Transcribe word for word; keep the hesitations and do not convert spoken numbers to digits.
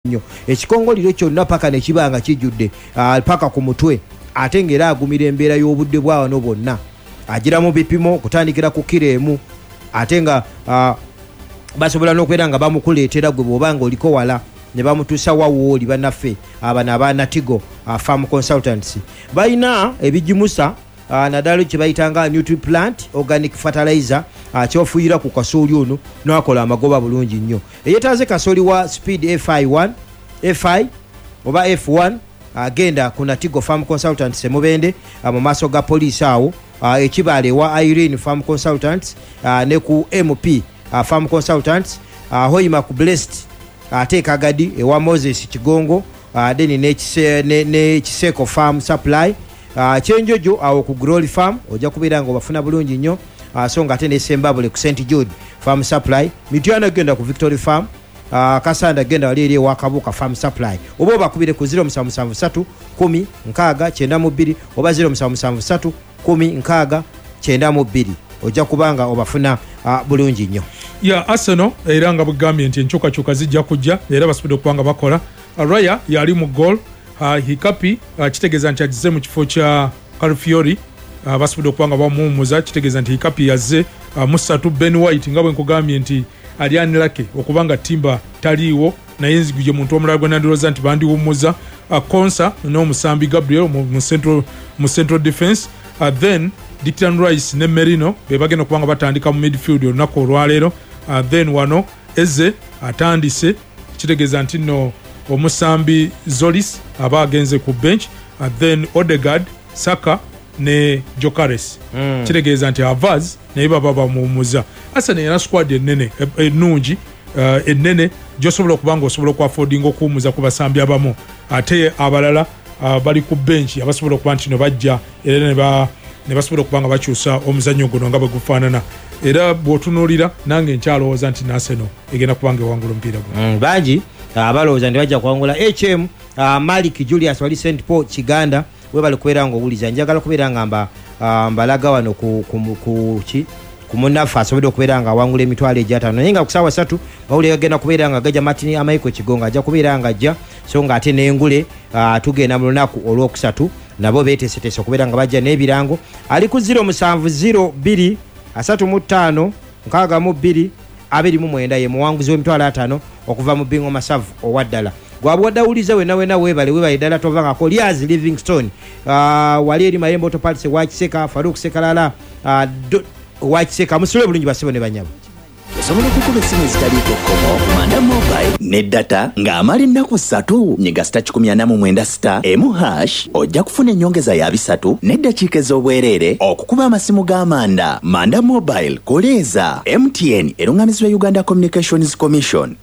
Nnyo ekikongoliro kyonna paka ne kiba nga kijjudde ah, paka ku mutwe, ate ng'era agumira embeera y'obudde bwa wano bwonna. Agira mu bipimo okutandikira ku kiro emu, ate nga ah, basobola n'okubeera nga bamukuleetera gwe bw'oba nga oliko wala ne bamutuusa wawooli. Bannaffe abano aba Natigo ah, Farm Consultants balina ebigimusa, ah, naddala kye bayitanga Nutriplant organic fertilizer, ah, kyofuuyira ku kasooli ono n'akola amagoba bulungi nnyo. Eyetaaze kasooli wa speed F I one, F I oba F one, agenda ku Natigo Farm Consultants emubende ah, mu maaso ga poliisi awo, ah, ekibaala ewa Irene Farm Consultants, ah, ne ku M P ah, Farm Consultants, ah, Hoima ku Blessed, ate Kagadi ewa Moses Kigongo, ah, then ne Kise- ne ne Kiseko Farm Supply, ah, Kyenjojo awo ku Glory Farm ojja kubeera nga obafuna bulungi nnyo, ah, so nga ate ne Sembabule ku Saint Jude Farm Supply. Mityana genda ku Victory Farm, uh, Kasanda genda wali eri ewa Kabuuka Farm Supply, oba obakubire ku zero seven seven three ten sixty ninety-two oba zero seven seven three ten sixty ninety-two, ojja kubanga obafuna uh, bulungi nnyo. Ya, Arsenal era nga bwegambye nti enkyukakyuka zijja kujja, era basobodde okuba nga bakola. uh, raya yali mu goal, uh, Hincapié, uh, kitegeeza nti agize mu kifo kya Calafiori, uh, basobodde okuba nga bamuwummuza, kitegeeza nti Hincapié yazze uh, musatu. Ben White, nga bwe nkugambye nti ali unlucky okuba nga Timber taliiwo, naye nziguje muntu omulala gwe nandowooza nti bandiwummuza, uh, Konsa n'omusambi Gabriel mu, mu central, mu central defense, uh, then Declan Rice ne Merino be bagenda okuba nga batandika mu midfield olunaku olwaleero. uh, then wano Eze atandise, kitegeeza nti nno omusambi Tzolis aba agenze ku bench, uh, then Odegaard, Saka ne Gyokeres mm. Kitegeeza nti Havertz naye baba bamuwummuza. Arsenal erina squad ennene, e- ennungi, uh, ennene gyosobola okuba nga osobola okuaffordinga okuwummuza ku basambi abamu, ate abalala uh, bali ku bench abasobola okuba nti no bajja era ne ba ne basobola okuba nga bakyusa omuzannyo guno nga bwe gufaanana. Era bw'otunuulira, nange nkyalowooza nti Arsenal egenda kuba nga ewangula omupiira guno. Mm, bangi ah, balowooza nti bajja kuwangula. H M uh, Malik Julius wali Saint Paul Kiganda, webale kubeera nga owuliza. Njagala kubeera nga mba, uh, mbalaga wano ku, ku, ku, ki ku munnaffe asobodde okubeera nga awangula emitwalo egyataano, naye nga ku saawa ssatu mawulire gagenda kubeera nga gajja. Martin Amaiko Kigongo ajja kubeera nga ajja, so nga ate n'engule uh, tugenda mu lunaku olwokusatu, nabo beteeseteese okubeera nga bajja n'ebirango. Ali ku zero seven zero two thirty-five sixty-two twenty-nine ye muwanguzi w'emitwalo ataano okuva mu Bingo Masavu owa ddala. Gwabwadde awuliza wena wena, weebale, weebale ddala. Tovangako Lias Livingstone, uh, wali eri Mayembe Autoparts wa Kiseka, Faruk Sekalala, uh, do- wa Kiseka. Musule bulungi basebo ne banyabo. Osobola okukuba essimu ezitaliiko kkomo ku Manda Mobile ne data ng'amala ennaku ssatu. Nyiga star one forty-nine star emu hash, ojja kufuna ennyongeza ya bisatu n'eddakiika ez'obwereere okukuba amasimu ga Manda. Manda Mobile, koleeza M T N, eruŋŋamizibwa Uganda Communications Commission.